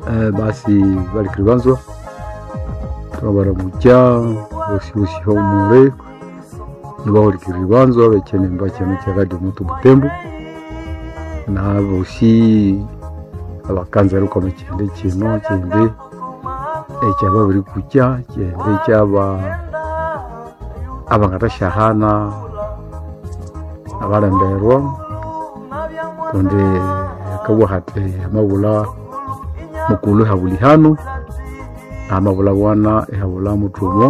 Basi balikiribanzwa twabaramukya bosi homule nibahulikiribanzwa bekyinimba kino kya Radio Moto Butembo na bosi abakanza rukoma kyende kino kyende ekyababirikukya kyende kyaba abangathasyahana abalemberwa kundi akabugha hathi amabulha mukulhu ihabulha ihanu amabulha bwana ihabulha muthumo.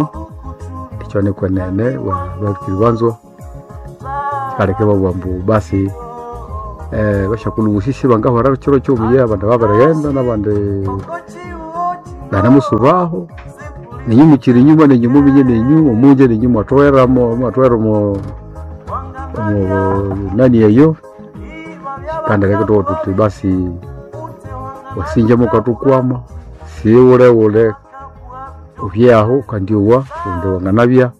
Ekyo nikwenene balikiribanzwa kyikaleka ibabugha ambu basi basyakulhu bosi sibangahwera kyiro kyobuya, abandi babirighenda nabandi banamusubaho, ninyu mukyiri enyuma ninyu muminye ninyu omunje ninyu mwathoghera mwathoghera omo nani eyo. Kyikandireka ithwabugha thuthi basi wasinja mukathukwama sighulheghulhe wubye aho wukandyowa kundi wanganabya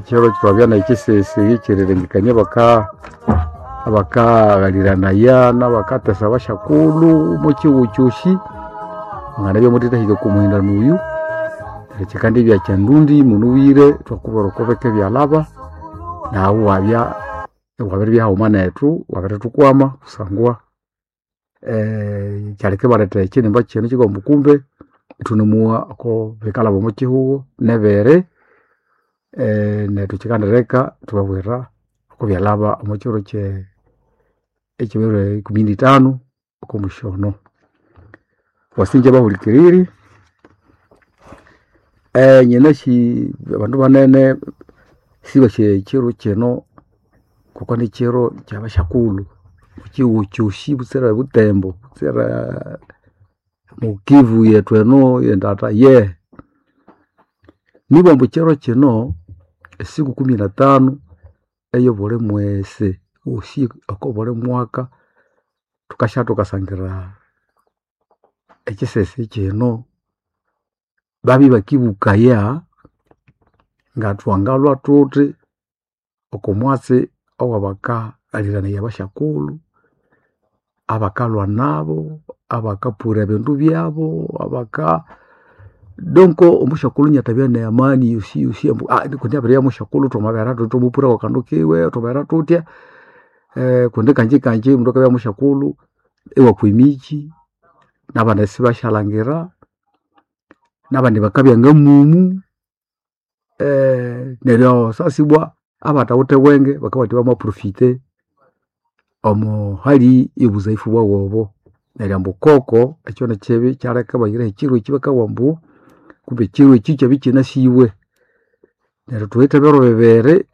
kyiro thwabya nekyisisi ekyerirengekania abakaghaliranaya nabakatesa abasyakulhu omwakyihugho kyosi, mwanganabya muthithahika okwa muhindano oyu. Neryo kyikandibya kyandundi munubwire ithwakubwira oko bike byalhaba naghu iwabya iwabiribya haghuma nethu wabirithukwama kusangwa kyaleka ibaletha ekyinimba kino kyikabugha ambu kumbe ithunemuwa oko bikalhaba omwa kyihugho nebiri. Nethu kyikandireka ithwababwira oko byalhaba omwa kyiro kye ekyebiro ikumi nithanu okwa musyono. Wasinja bahulikiriri, nyinasi abandu banene sibasi ekyiro kino ngoko nikyiro kyabasyakulhu ekyihugho kyosi butsira ebutembo, butsira mukivu yethu eno endata yehe. Nibwa ambu ekyiro kino esiku kumi na tanu eyobuli mwesi wosi oko buli mwaka thukasya thukasangira ekyisesi kino babya ibakibukaya ngathwangalhwa thuthi oko mwatsi owabakaghaliranaya abasyakulhu, abakalhwa nabo, abakapura ebindu byabu, abaka donc omusyakulhu inathabya ne amani yosi yosi ambu kundi abiribya musyakulhu thwamabera thuthi thwamupura kwakandu kiwe, thwamabera thuthya kundi kanji omundu akabya musyakulhu iwakwa emikyi nabandi isibasyalhangira, nabandi bakabya ngamumu neryo sasa ibwa abathawithe bwenge bakabugha bathi bama profiter omo hali yobuzaifu bwabu obo. Neryo ambu koko ekyo nikyibi kyaleka ibahiraho ekyiro ekyi bakabugha ambu kumbe ekyiro ekyi kyabya ikyinasibwe. Neryo thuwithe ebiro bibiri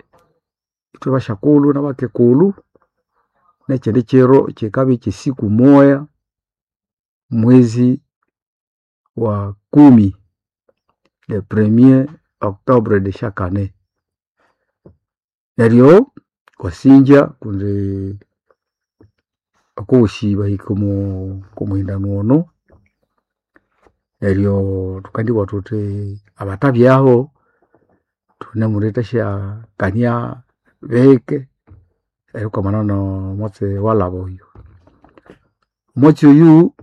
ithwe basyakulhu nabakikulhu nekyindi kyiro kyikabya kyesiku moya mwezi wa kumi, le premier octobre de chaque année. Neryo wasinja kundi okowosi bahika omo okomuhindano ono, neryo thukandibugha thuthi abathabyaho thunemuthithasya kania bike erikwamana nomwatsi owalhaba oyo. Omwatsi oyu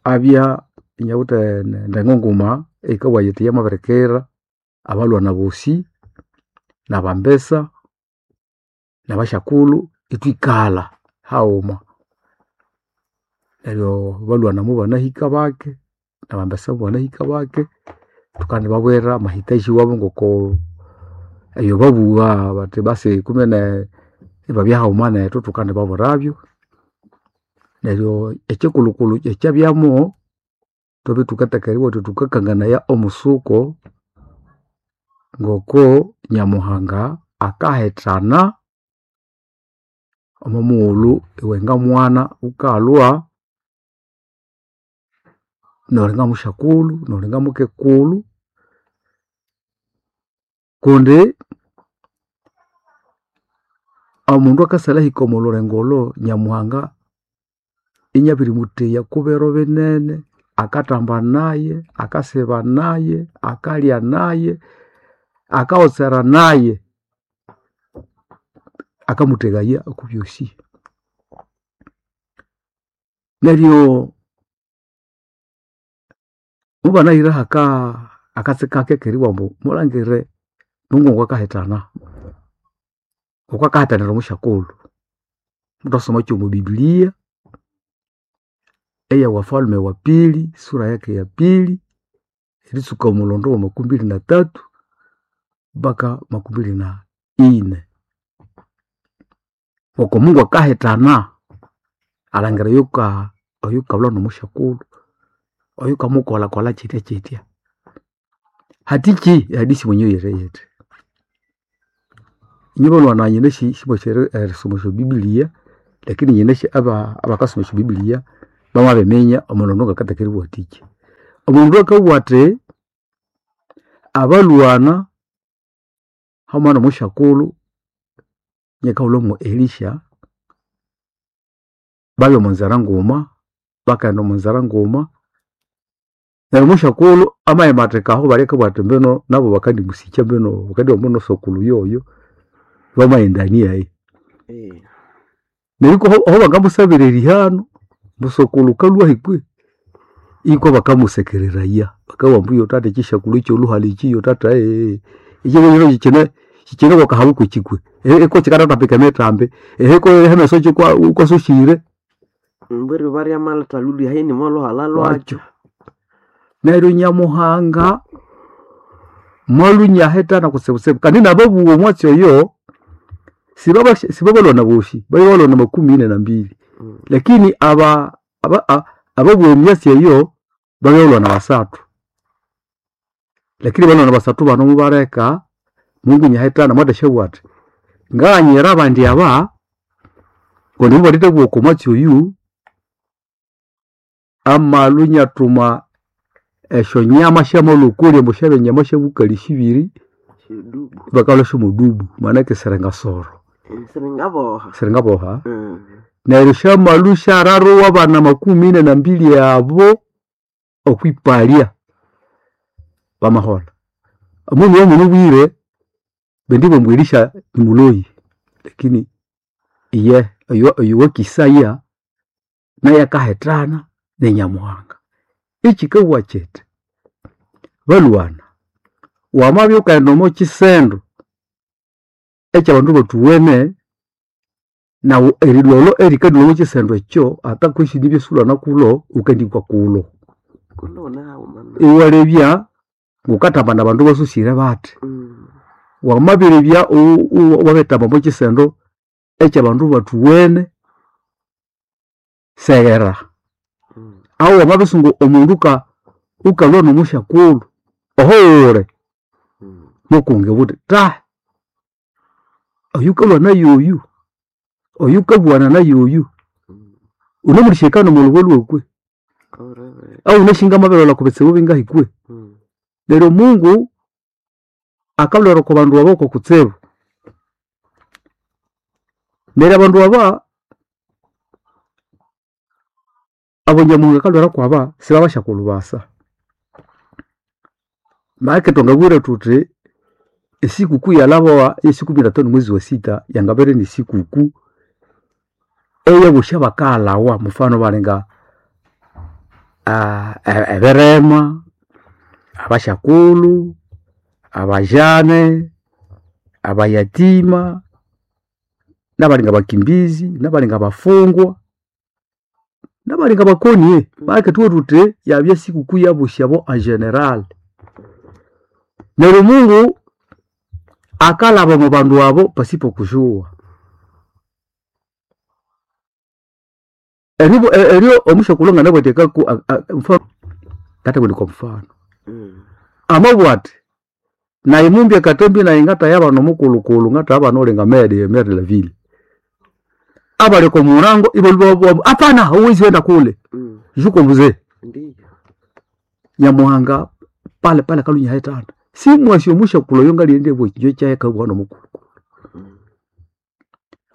abya inawithe endengo nguma eyikabugha yithi yamabirikira abalhwana bosi nabambesa nabasyakulhu ithwikalha haghuma. Neryo abalhwana mobanahika bake nabambesa mobanahika bake thukandibabwira amahitaji wabu ngoko ebyababugha bathi basi kumbe ibabya haghuma nethu thukandibabwirabyo. Neryo ekyikulhukulhu ekyabyamu thwabya thukatheka eribugha thuthi thukakanganaya omusuko ngoko Nyamuhanga akahithana omwa mughulhu iwe ngamwana ghukalhwa noli ngamusyakulhu noli ngamukikulhu kundi omundu akasalhahika omo lhulengo olho Nyamuhanga inabirimutheya okwa biro binene, akathamba naye, akasiba naye, akalya naye, akawotsera naye, akamuthegaya okwa byosi. Neryo. Mubanahira haka akatsi kake keriwa ambu mulangire Mungu ngwakahitana ngokwakahitanira omusyakulhu. Muthasoma kyomo Biblia eya Wafalme wa pili sura yake ya pili eritsuka omulondo wa 23 mpaka 24. Ngoko Mungu akahitana alhangira oyuka oyukalhwa nomusyakulhu oyukamukolhakolha kyitya kyitya. Hatikyi ehadisi mwenyewe yiri yithi. Inye balhwana nyinasi simwasi erisoma esyobibilia lakini nyinasi abakasoma esyobibilia bamabiminya omulondo ngakataka eribugha athikyi. Omundu akabugha athi abalhwana haghuma nomusyakulhu nyakahulhwa Elisha babya omonzira nguma bakaghenda omonzira nguma neryo omusyakulhu amayimathika aho bali akabugha athi mbino nabo bakandimusikya mbino bakandibugha mbino sokulhu yoyo bamaghendania eyi. Neryo ikwa aho bangamusabira erihano ambu sokulhu wukalhwahi kwe? Ikwa bakamusekereraya bakabugha ambu yo tata ekyisyakulhu ekyolhuhalha ekyi yo tata ekyiro kyine kyikyine kwakahabu kwekyi kwe iko kyikathathambika emithambi iko emeso wukwasosyire. Mbwiri eriba ryamalhetha lhulya ni molhuhalha lwakyo. Lwakyo. Neryo Nyamuhanga mwalhwa inyahitana kutsibutsibu kandi nababugha omwatsi oyo sibabalhwana bosi babya balhwana 42 lakini ababugha emyatsi eyo babya balhwana basathu. Lakini balhwana basathu bano mubaleka Mungu inyahitana mwathasyabugha athi ngaghanyira abandi aba kundi mubalithebugha okwa mwatsi oyu amalhwa inyathuma esyonyama syamalhokolya ambu syabya nyama syabukali sibiri Syodubu. bakalhwa syomodubu maanake siringasoro. Siringaboha. Siringaboha. Neryo syamalhwa isyararua abana 42 abo okwipalya bamaholha. Omundu omunubwire bendi bambu Elisha nimuloyi lakini iye oyo wakisaya naye akahitana ni Nyamuhanga. Ekyikabugha kyithi balhwana wamabya wukaghenda omo kyisendo ekyabandu bathuwene naghu erilhwalho erikalhwa omo kyisendo ekyo ata kwesi nibya isiwulhwana kulho wukandikwa kulho. Kulho haghuma. Iwalebya ngukathamba nabandu basosire bathi. Wamabirebya wabirithamba omo kyisendo ekyabandu bathuwene seghera. Ahu wamabisunga omundu wukalhwa nomusyakulhu oho wuli mukunge wuthi tahi oyukalhwa nayoyu, oyukabugha nayoyu wunemulhisyekana omolhuba lhwaku kwe? Au wunasi ngamabirilholha okwabitsibu bingahi kwe? Neryo Mungu akalhwera okwa bandu aba kwakutsibu. Neryo abandu aba abo Nyamuhanga akalhwera kwaba sibabasyakulhu basa. Make thwangabugha thuthi esikuku yalhabawa yesiku 15 mwezi wa sita yangabere inisikuku eyabosi abakaghalhawa mufano balinga ebirema, abasyakulhu, abajane, abayatima, nabalinga bakimbizi, nabalinga bafungwa, nabalinga bakoni. Maana thubughe thuthi yabya sikuku yabosi abo en general. Neryo Mungu akalhaba omo bandu abo pasipo kujua. Eryo omusyakulhu nganabugha athi ngathabugha indi kwa mfano amabugha athi nayi mumbye akatambi nayi ngathaya abana omukulhukulhu ngathaya abana olinga mere de la ville. Abali oko murango ibalhwa ibabugha ambu hapana hauwezi enda kule juko mzee. Ndiyo. Nyamuhanga pale pale akalhwa inyahitana. Simwasi omusyakulhu oyo ngaliyendibugha ekyinja kyayi akabugha nomukulhukulhu.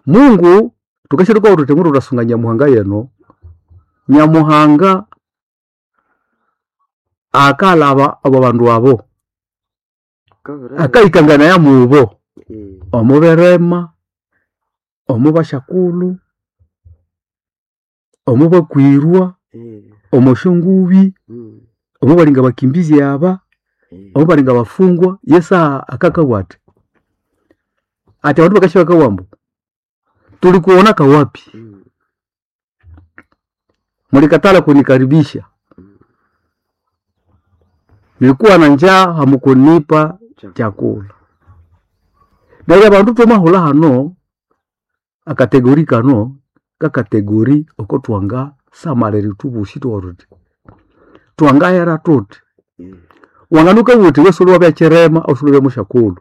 Mungu thukasya thukabugha thuthi mundu thwasunga Nyamuhanga yeno, Nyamuhanga akalhaba abo bandu abo akayikanganaya mubo omo birema, omo basyakulhu, omo bakwirwa, omo syongubi. Omo balinga bakimbizi aba, omo balinga bafungwa, yesaha akakabwa ati ati abandu bakasya bakabugha ambu tulikuonaka wapi? Mulikatala kunikaribisha, nilikuwa na njaa hamukunipa chakula. Neryo abandu twamahulha hano akategori kano kakategori oko twanga samalira ithwe bosi thwabugha thuthi twangahera thuthi. Wanganuka uthi iwe siwuli wabya kirema au siwuli wabya musyakulhu,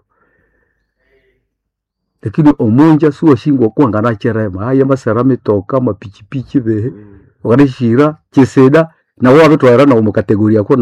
lakini omunja siwasi ngoko wanganakirema haya amasara mitoka, amapichipichi bihi, wanganasihira kyisida nawu iwabitwalira nawu omo category yako.